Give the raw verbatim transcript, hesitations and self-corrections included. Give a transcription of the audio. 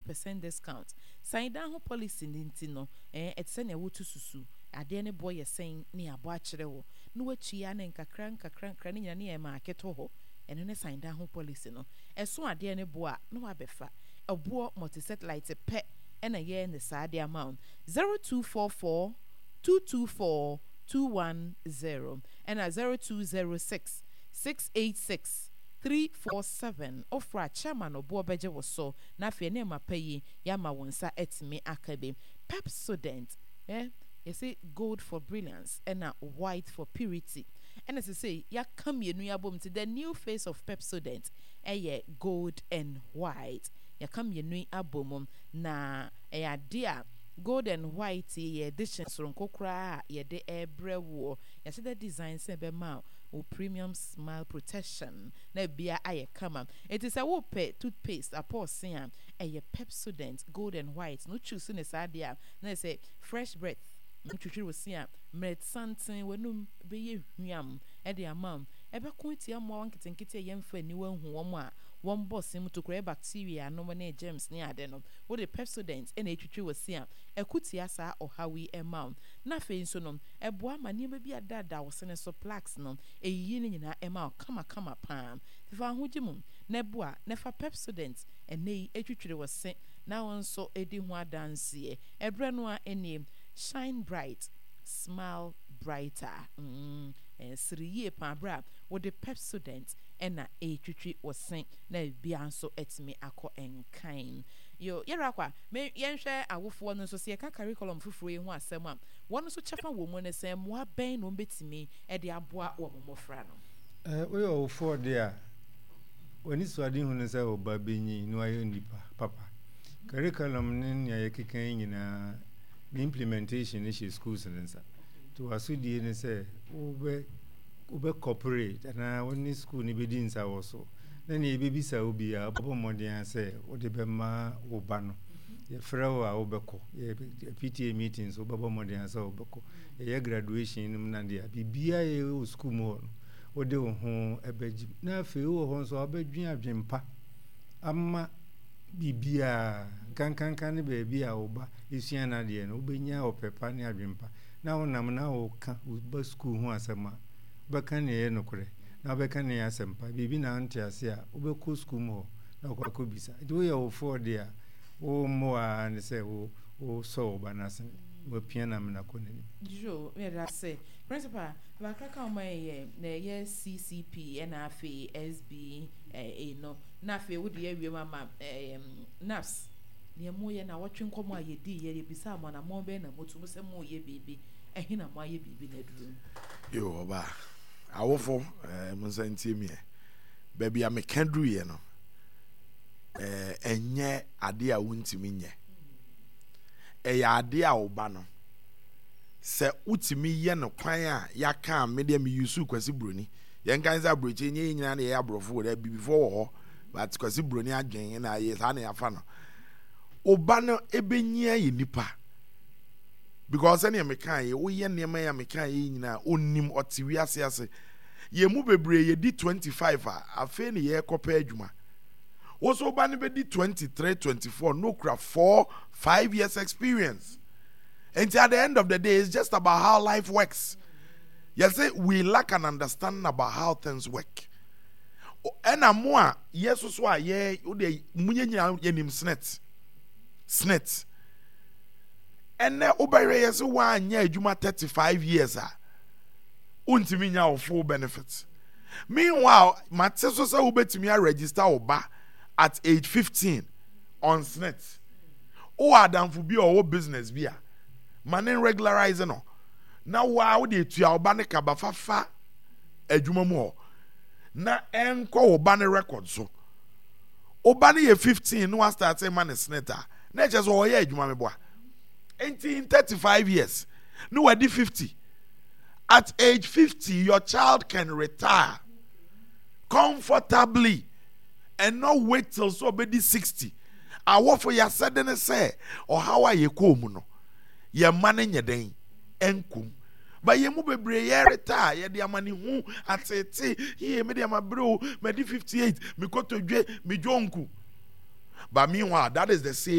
percent discount. San dan ho policy no nti no, ɛɛ ɛte sɛ nea wotu susu. Adeɛ no boɔ yɛ sɛn ne yɛabɔ akyerɛ wo na woatua ne nkakra nkakra nkakra ne nyinaa ne yɛ ma aketo hɔ. Ɛno ne san dan ho policy no. Ɛso adeɛ no boɔ a na wabɛfa. Ɛboɔ multi satellite pɛ ɛna yɛn ne saa de ama wo. zero two four four two two four two one zero ɛna zero two zero six six eight six three four seven. Ofra chairman ɔboɔ bɛgye wo so na afei nneɛma pa yi yɛama wo nsa atumi aka bi. Pepsodent, eh, yɛsɛ gold for brilliance ɛna white for purity, ɛna sɛ sɛ yɛaka mmienu yi abom nti the new face of Pepsodent ɛyɛ gold and white. Yɛaka mmienu yi abom na ɛyɛ ade a gold and white yɛ edition soronko koraa a yɛde ɛrebrɛ woɔ. Yɛahyɛ dɛ design sɛ ɛbɛma wo premium smile protection na bia ayɛ kama. Eti sɛ wopɛ toothpaste apɔɔse a, ɛyɛ Pepsodent gold and white na wotwi ne saa adeɛ a na yɛ sɛ fresh breath. Ntwitwiri wo se a mmerɛ santen w'anum bɛyɛ hwam ɛde ama wo. Ɛbɛko atia mmoawa nketenkete a yɛmfa aniwa nhu wɔn a wɔn bɔ se mu tokura, bacteria nom ne germs ne ade no. Wode Pepsodent ɛna etwitwi wɔ se a, ɛko tia saa ɔhaw yi ɛma wo. Na afei nso no, ɛboa ma nneɛma bi adaadaa wo sene so, plaques no, ɛyiyi ne nyinaa ɛma wo kamakama paa. Fa ahogye mu na ɛboa na fa Pepsodent ɛnɛ yi etwitwiri wɔ se na wɔn nso edi ho adanseɛ. Ɛbrɛ no a ɛnie, shine bright, smile brighter. mm, sere yie paa berɛ a wode Pepsodent ɛna ɛretwitwi wɔ se na bia nso atumi akɔ nkan. Yo, yɛrɛ akɔ a me yɛnhwɛ awofoɔ no nso sɛ yɛka curriculum foforɔ yi ho asɛm a, wɔn nso kyɛfa wɔ mu ne sɛ mmoa bɛn na wɔn bɛtumi de aboa wɔn mmɔfra no? Woyɛ ɔwofoɔ deɛ a, w'ani so ade hu no sɛ ɔba bɛnyin na wayɛ nipa papa. Curriculum ne nea yɛkeka yi nyinaa ne implementation ne hyɛ schools no nsa, nti w'asodie ne sɛ wobɛ wobɛ cooperate anaa wo ne school no bɛdi nsa wɔ so na nea yɛbɛbisa wo biara, wobɛbɔ mmɔden a sɛ wode bɛma wo ba no. Yɛfrɛ wo a, wobɛkɔ. Yɛ P T A meetings, wobɛbɔ mmɔden a sɛ wobɛkɔ. Yɛyɛ graduation no mu na deɛ biribiara yɛ wɔ school mu hɔ no, wode wo ho ɛbɛgye. Na afei wowɔ hɔ nso a, wobɛdwen adwempa ama biribiara nkankanka ne baabi a wo ba esua n'adeɛ no. Wobɛnya ɔpɛ pa ne adwempa na wonam na woka wo ba school ho asɛm a, wobɛka nea ɛyɛ nokorɛ na wobɛka nea ɛyɛ asɛmpa. Biribi na wonte ase a, wobɛkɔ school mu hɔ na wokɔ akɔbisa. Nti woyɛ wofoɔ deɛ a, wo mmoa ne sɛ wo wosɔ wo ba no asene wapia no amena kɔ n'anim. Yo, yɛda ase, Principal. Bakra ka wɔn yɛ na ɛyɛ C C P ɛna afei S B A no na afei wode yɛ awie mu ama ɛɛm NAPS nea mo yɛ na wɔtwe nkɔmɔ a yɛdi yɛ yɛbisa mo anammɔn bɛn na motu mo sɛ mo yɛ biribi ɛhe na mo ayɛ biribi na aduru? Yo, ɔba awofo, ɛɛ mo nsa ntie miɛ. Baabi a meka duruyɛ no, ɛɛ ɛnyɛ adeɛ a wontumi nyɛ. Ɛyɛ adeɛ a ɔba no sɛ wotumi yɛ no kwan a yɛaka a, me deɛ me use Kwasi Buroni. Yɛn kan sɛ aburokyi nye yɛn nyinaa na yɛyɛ aborɔfo wɔ dɛ bibifoɔ wɔ hɔ, but Kwasi Buroni adwen na yɛ saa na yɛafa no. Ɔba no ebɛnyia yɛ nipa because sɛnea meka yɛ, woyɛ nneɛma yi a meka yɛ nyinaa, onim ɔte wiase ase. Yɛn mu bebree yɛdi twenty five a, afei ne yɛrekɔpɛ adwuma. Woso ba no bɛdi twenty three, twenty four no kura four five years experience. Nti at the end of the day, it's just about how life works. Yɛsɛ we lack an understanding about how things work. Ɛna mo a yɛ soso a yɛ wode mo yɛ nyinaa yɛnim SSNIT. SSNIT ɛnɛ wobɛhwɛ yɛ sɛ woanyɛ adwuma thirty five years a, wontumi nya wo full benefit. Meanwhile, mate so sɛ wobɛtumi aregister wo ba at age fifteen on SSNIT. Wowɔ adamfo bi a ɔwɔ business bi a, ma ne regularize no na waa wode etua wo ba ne kaba fafa adwuma mu hɔ na ɛnkɔ wo ba ne record so. Wo ba no yɛ fifteen na wastart ma ne SSNIT a, na ɛkyɛ sɛ ɔyɛ adwuma meboa. Nti in thirty five years na wadi fifty. At age fifty, your child can retire comfortably and not wait till so ɔbɛdi sixty. Awɔfo, yɛasɛde ne sɛ ɔhaw a yɛkɔɔ mu no, yɛn mma no nyɛ den nkum ba. Yɛn mu bebree yɛ retire, yɛde amanehu atete yie. Me deɛ, ma bere o, madi fifty eight, mekɔtɔ dwe me dwonku. But meanwhile, that is the same